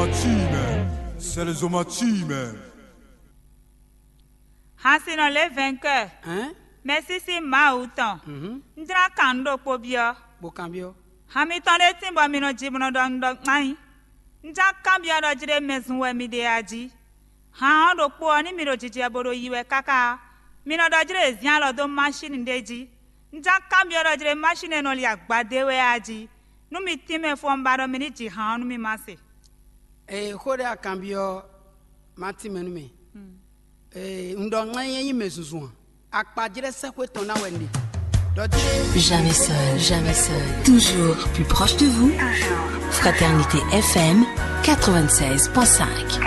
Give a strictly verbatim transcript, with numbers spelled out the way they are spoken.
Machine, c'est les hommages. Hansinɔ lě vɛnkɛ, Hein? mɛsísí Mawu tɔn. Mhm. Un jlá kan nǔ ɖokpó byɔ́. Bokanbiɔ. Han mitɔn ɖé tín bɔ mi nɔ ji bó nɔ ɖɔ un ɖɔ kpán nyi. Un jlá kanbyɔ́ ɖɔ jí ɖé mɛ zun wɛ mi ɖe a jí. Han ɔ́ ɖokpó ɔ́, ní mi ɖo jijɛ bo ɖo yi wɛ káká ɔ́, mi nɔ ɖɔ jí ɖé è zín alɔ dó máshíni ɖé jí. Un jlá kanbyɔ́ ɖɔ jí ɖé máshíni e nɔ li agbadé wɛ a jí. Nú mi tínmɛ fó ɔ́, un ba ɖɔ mi ní ji han ɔ́ nú mi ma se. Ee, xó ɖé akanbyɔ ma tínmɛ nú mɛ. Ee, un ɖɔ ŋlɛ́ nyɛ nyí mɛ zunzun a. Akpajlɛ́ sɛ́xwé tɔn ná wɛ un ɖe. Ɖɔ jí ɖé Jamais seul, jamais seul. Toujours plus proche de vous. Fraternité F M quatre-vingt-seize point cinq.